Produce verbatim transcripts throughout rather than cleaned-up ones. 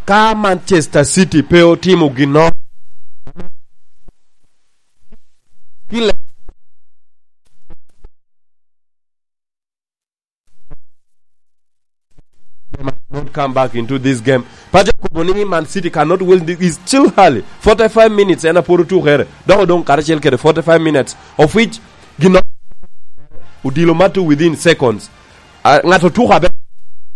Ka Manchester City pe otimo ginnoro, kile they might not come back into this game. Paco kobo ni Man City cannot win, it's still early. Forty-five minutes en aporo tukere. Dok odong karacel kede forty-five minutes, of which gino odilo mato within seconds. Ah, ng'ato tuko aber,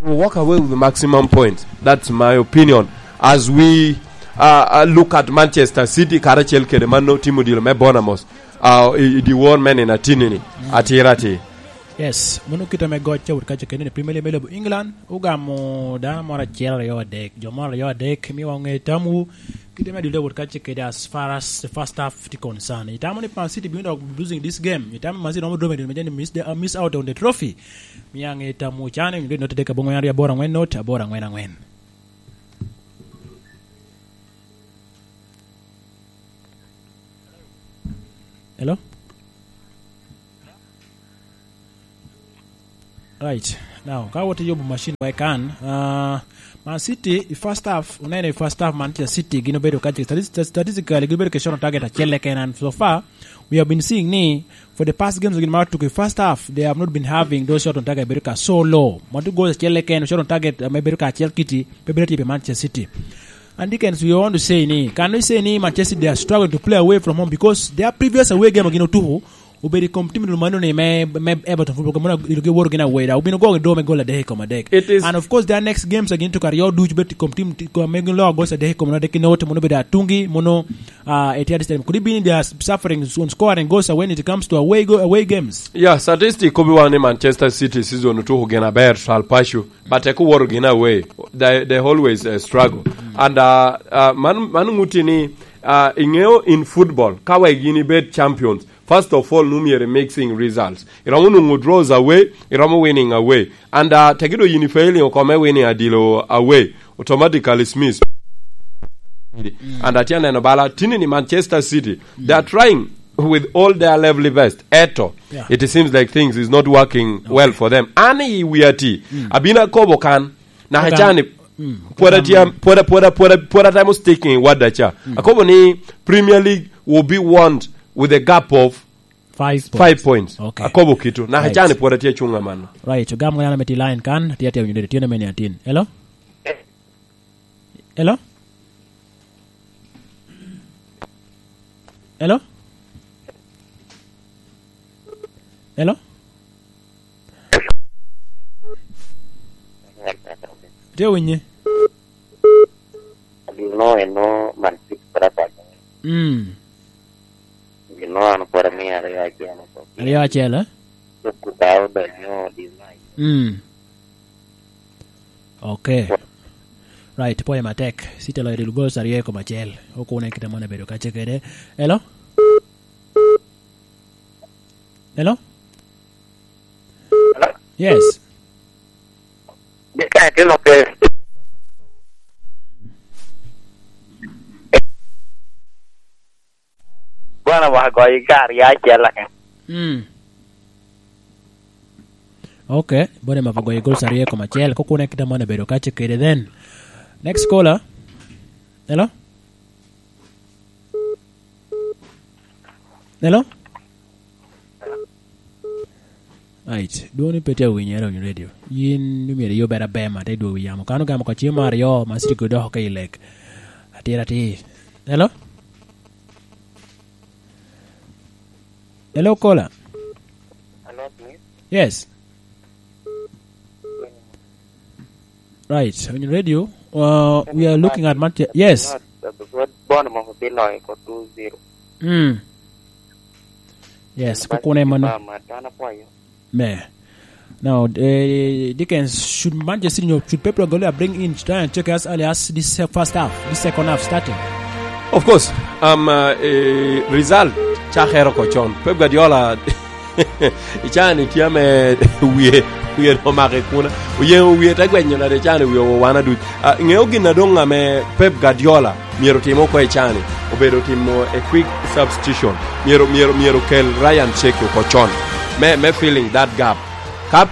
you walk away with maximum points. That's my opinion. As we, uh, uh, look at Manchester City, karacel kede mano timo dilo me Bournemouth, uh, i, i dyewor me nino atinni-ni, atira atir. Yes, mano kite me goc ca wot kaca kene ni Premier League me lobo England, ogamo dano moro acel, aryo, adek, jo moro aryo, adek, miwa ŋe tamwu, kite me adilo wot kaca kede as far as the first half tye concern. Itamo ni Man City bino dok losing this game? Itamo ni Man City romo dominate me jami miss the, uh, miss out on the trophy? Miya ŋe tamwu can, onyuto i not adek aboŋwen aryo aboro aŋwen not aboro aŋwen aŋwen. Hello? Right. Now, ka wot i yubo machine wa i kan, uh, Man City, i first half, oneno i first half, Manchester City gin obedo ka, stati-, statistically, gin obedo ke shot on target acel keken, and so far, we have been seeing ni, for the past games, gin ma otuko i first half, they have not been having those shot on target, bedo ka so low. Mano goal acel keken, shot on target, uh, me bedo ka acel kiti, pe bedo tye pi Manchester City. And Dickens, we want to say ni, can we say ni Manchester City, they are struggling to play away from home because their previous away game gin otuko, obedo i kom tim lum mano ni me, me Everton Football Club, mono ilugi woro gin aweda, obino gogo do me gol adek i kom adek. It is. And of course, their next games again to karyo duc bet i kom tim, ti-, kom me gin lo gol adek i kom adek, kino te mono bedo atungi, mono, ah, Etihad Stadium. Could it be they are suffering on scoring goals when it comes to away go-, away games? Yeah, statistic kobi wan ni Manchester City season otuko gin aber, twal paco, but eko woro gin away. They, they always, uh, struggle. And, uh, uh, man, man ŋuti ni, uh, iŋeo in football, ka wek yin ibed champions, first of all, nu myero mixing results. Iromo nwoŋo draws away, iromo winning away. And, uh, tegi do yin failing oko me winning adilo away, automatically Smith. And atye aneno bala, tini ni Manchester City, they are trying with all their level best. Eto, yeah, it seems like things is not working well for them. An i wi ati, abino akobo kan, naka cani, pwod atye, pwod, pwod, pwod, pwod atemo sticking i wadda ca. Akobo ni Premier League will be won with a gap of five points. Five points. Okay. Akobo kitu. Naka cani pwod atye acunga mano. Right. Ogam ŋana me ti line kan, atye atye winyo dede, tye na meni atin. Hello? Hello? Hello? Hello? Tye winyi? Gino eno man cik pwod akonyo. Mm. Gino an pwod amio aryo acel oko. Aryo acel, eh? Cuk kuta odonyo di mai. Mm. Okay. Right, pwoyo matek. City oloyo dul goals aryo i kom acel. Okune kite moni abedo kace kede. Hello? Hello? Hello? Yes. Dika tino pe. Bwana wa goyo i kar ya acel ake. Mm. Okay, bwana ma goyo goals aryo i kom acel. Kokune kita mwana bedo kace kede then. Next caller. Hello? Hello? Right. Dwoni pe tye awinyere on radio. Yin myero iyubere abema, te dwogo yamo. Kan ogamo ka cim aryo, ma city go doko ka i lek. Atira atir. Hello? Hello, caller. Hello, please. Yes. Right, on your radio, uh, we are looking at Manche-, yes. Bono mo biloyo ko two zero. Mm. Yes, kukune mano. Mama, tana pwayo. Me. Now, eh, Dickens, should Manchester City, should Pep Guardiola bring in Ryan Check as early as this, uh, first half, this second half starting? Of course, um, uh, eh, result, chakere ko chon. Pep Guardiola, icani tye ame wie, wie omako i kuna. Oyeŋo wie te gwenyo nade icani wie owana duc. Ah, iŋeo gin adoŋ ame Pep Guardiola myero otim oko icani? Obedo timo a quick substitution. Myero, myero, myero kel Ryan Check oko chon. Me, me filling that gap. Ka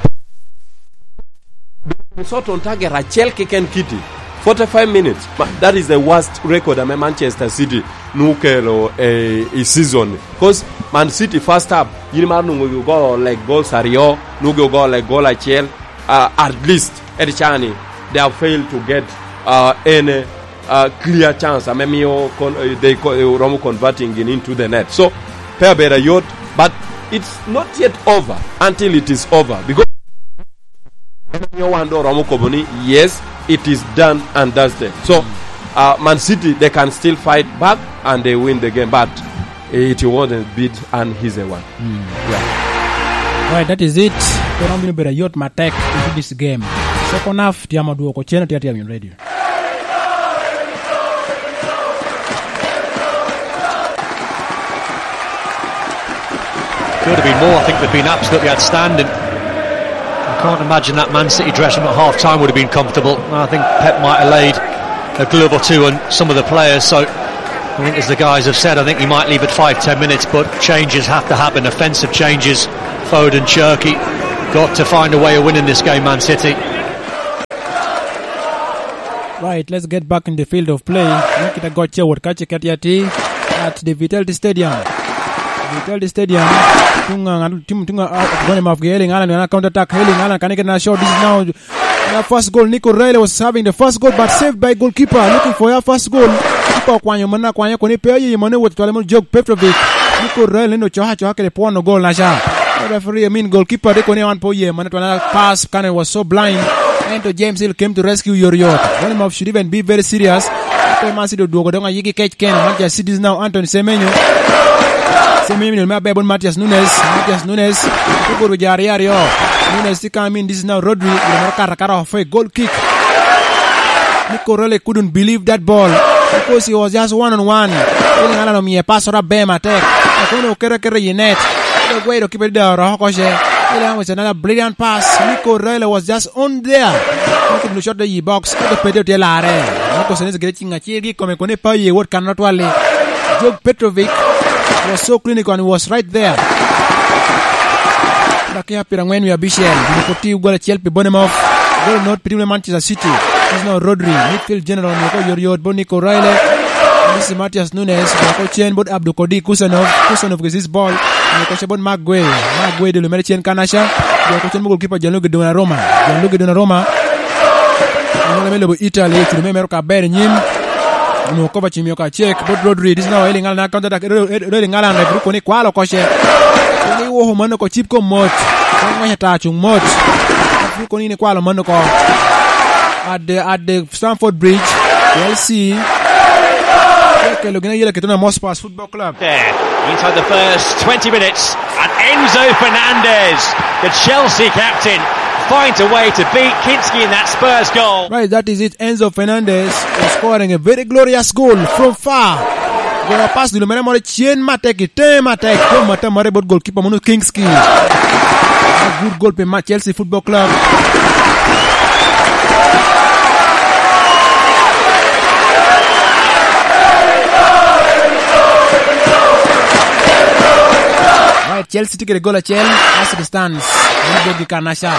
Minnesota on target acel keken kiti. Forty-five minutes. Ma-, that is the worst record ame Manchester City nukelo, eh, i season. 'Cause Man City first half, yin mar nungo go like goals aryo, nungo go like goal achiel, uh, at least, at chani, they have failed to get, uh, any, uh, clear chance ame mio con-, uh, they co-, uh, romo converting it into the net. So, pe abedo ayot, but it's not yet over until it is over, because mio wan do romo kobo ni, yes, it is done and dusted. So, uh, Man City, they can still fight back and they win the game, but it wasn't bit an easy one. Yeah. Right, that is it. Pe romo bino bedo ayot matek into this game. Second half, tiamo dwoko cen atir atir in radio. Could have been more. I think they've been absolutely outstanding. I can't imagine that Man City dressing room at half time would have been comfortable. I think Pep might have laid a glove or two on some of the players. So I think, as the guys have said, I think he might leave at five, ten minutes, but changes have to happen. Offensive changes. Foden, Cherki, got to find a way of winning this game, Man City. Right, let's get back in the field of play. Nikita got Chewot Kachi Katiati at the Vitality Stadium. Vitality Stadium. Tunga, tunga, uh, Erling Haaland, counter attack. Erling Haaland, can he get a shot? This is now the first goal. Nico Raleigh was having the first goal, but saved by goalkeeper. Looking for your first goal. Keeper okwanyo mana, kwanyo koni pe aye mane wot twale mo Jok Petrovic. Nico Raleigh neno coha coha kede pwono goal na cha. Referee, I mean, goalkeeper de koni on po ye mane twale pass, Cannon was so blind. Ento James Hill came to rescue yoryot. One of should even be very serious. Pe Man City odwogo dong ayigi kec keno. Manchester City is now Anthony Semenyo. Semenyo me aber bon Matthias Nunes. Matthias Nunes. Tugoro ja aryo aryo. Nunes tye ka min, this is now Rodri. Gin moro kato akata off a goal kick. Nico Raleigh couldn't believe that ball because he was just one on one. Erling Haaland omiye pass oro aber matek. Akono okete aketa i net. Aguero kipe da oro oko ce. Erling Haaland was another brilliant pass. Nico Raleigh was just on there. Nico Raleigh shot the box. Ento pe tye larre. Marco Senesi gire cing acel gi kome kone pa ye wot kan otwali. Jok Petrovic was so clinical and was right there. Dakika pyerangwen wie abicel, gin pwod tye gol acel pi Bournemouth. Gol not pi tim me Manchester City. Is now Rodri, midfield general, ni ko yor yor bot Nico Raleigh. This is Matthias Nunes, ko cen bot Abdul Kodir Kusanov. Kusanov gets this ball. Ni ko cen bot Mark Guehi. Mark Guehi dulu mere cen kanaca. Ko cen bot goalkeeper Gianluigi Donnarumma. Gianluigi Donnarumma. Anyala me lobo Italy, cudo me mero ka ber nyim. Onwoŋo kopa cimio ka cek, bot Rodri, this now Erling Haaland, counter attack, Ro-, Ro-, Erling Haaland, referee koni kwalo koce. Koni iwoko mano ko cip ko mot. Koni ngwec ata cuŋ mot. Referee koni ni kwalo mano ko. At the, at the Stamford Bridge, Chelsea. Kelo gina yela kitona Mospas Football Club. There, inside the first twenty minutes, and Enzo Fernandez, the Chelsea captain, finds a way to beat Kinski in that Spurs goal. Right, that is it. Enzo Fernandez was scoring a very glorious goal from far. Goyo pass dilo mere moro cen matek, i tee matek, tee matek mare bot goalkeeper mono Kinski. A good goal pe ma Chelsea Football Club. Right, Chelsea tye kede gol acel, Arsenal stands. Mano bed gi kanaca.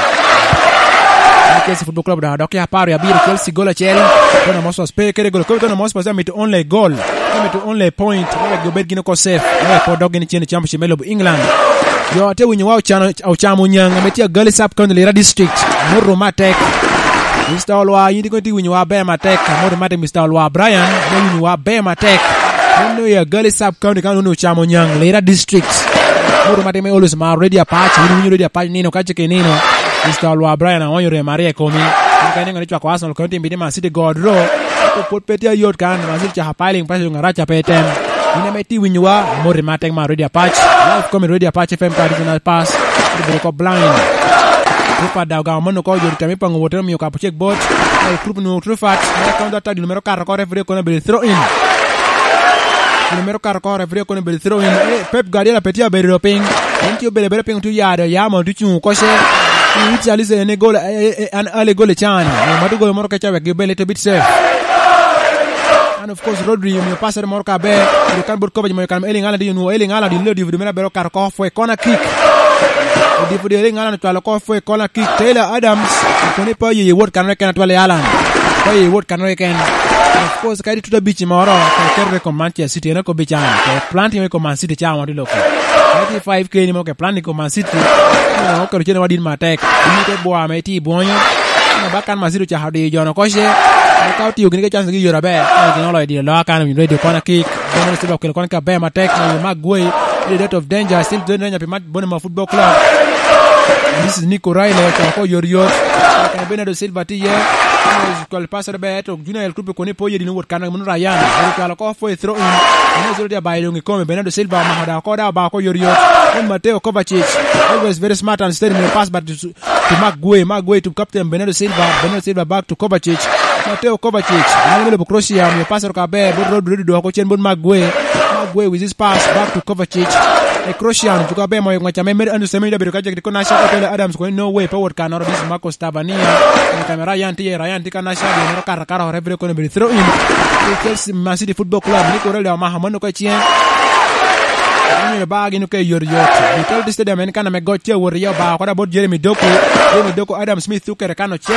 Chelsea Football Club dok, dok ya apar abiro, Chelsea gol acel. Tottenham Hotspur pe kede gol. Kobe Tottenham Hotspur amito only goal. Amito only point. Wek obed gin oko safe. Wek po dok gin cen i championship me lobo England. Jo ate winyo wa ocano, ocamo nyang ame tye Agali Sub County Lira District. Murru matek. Mister Olwa, yin dikon tye winyo wa ber matek. Murru matek, Mister Olwa Brian. Yin winyo wa ber matek. Yin no ya Agali Sub County kan unu ocamo nyang Lira District. Murru matek me always ma Radio Apache. Yin winyo Radio Apache nino kace ke nino. Mister Olwa Brian aonyo rem aryo i komi. Yin ka ineno ni cwako Arsenal kono tim bidi Man City God ro. Pwod pe tye ayot kan. Man City caka piling pressure ŋaraca pe tem. In ame ti winyowa, moti matek ma Radio Apache. Live comedy Radio Apache F M ka regional pass. Obedo ko blind. Trupat da ogamo mano ko, jodi tami pango wote omiyo kapo cek bot. Ai, Trup nu Trupat. Mera kaunta ta dino mero kato ko referee kono obedo throw in. Dino mero kato ko referee kono obedo throw in. Eh, Pep Guardiola pe tye abedo do piny. En tye obedo abedo piny, tye yado, ya mo, tye cuŋ koce. Iwit Charles en e gol, eh, eh, eh, an ale gol e can. Mo matu gol moro keca wek gi bele to bit safe. And of course, Rodri omiyo passer moro ka ber. Kede kan bot Kovac moyo kan Erling Haaland tye nwoŋo Erling Haaland ilo divido mere abero kato ko fwe corner kick. Divido Erling Haaland ocwalo ko fwe corner kick. Taylor Adams, koni pa yeye wot kan kena twale Haaland. Koi wot kan keken. Of course, kadi tuta bici moro, ke keto i kom Manchester City, en akobi can. Ke plan timo i kom Man City, ca wan tye loko. Kadi five K ni mo ke plan i kom Man City, no, oketo cene wadin matek. Imi te bwa me ti bwonyo. Ino ba kan Man City ocako diyo jono koce. Ka otio gini ke chance gi yore aber. Ino gini oloyo diyo loa kan, win radio corner kick. Bernardo Silva okelo koni ka ber matek, ma Maguire, in a state of danger, still doing danger pi Mat-, Bournemouth Football Club. This is Nico Riley, ocako ko yot yot. Kene Bernardo Silva tye iye. Kol pass ber, to Junior El Tupi koni po yedi ni wot kan, mano Ryan. Ero cwalo ko for a throw in. Mano zero tye abayo dong i kome, Bernardo Silva omako da ko da ba ko yot yot. Then Mateo Kovacic, always very smart and steady in the pass, but to Maguire, Maguire to captain Bernardo Silva, Bernardo Silva back to Kovacic. Mateo Kovacic, nwoŋo lobo Croatia, omio pass oro ka ber, but Rodri dwoko cen but Maguire. Maguire with his pass back to Kovacic. E Croatian, tuko aber moyo ngwaca me Mer Andrew Semenyo da bedo ka jek diko Nasha, Otele Adams koni no way, pa wot kanoro, this is Marcos Tavernier. Kamera Ryan tye, Ryan tye ka Nasha, gin mero kato kato, referee kono bedo throw in. Chelsea, Man City Football Club, Nico Riley omako mano ka cien. Onyulo ba gin oke yot yot. Vitality Stadium en kan ame goc tye awot iye, oba oko da bot Jeremy Doku. Jeremy Doku, Adam Smith okete kan ocek.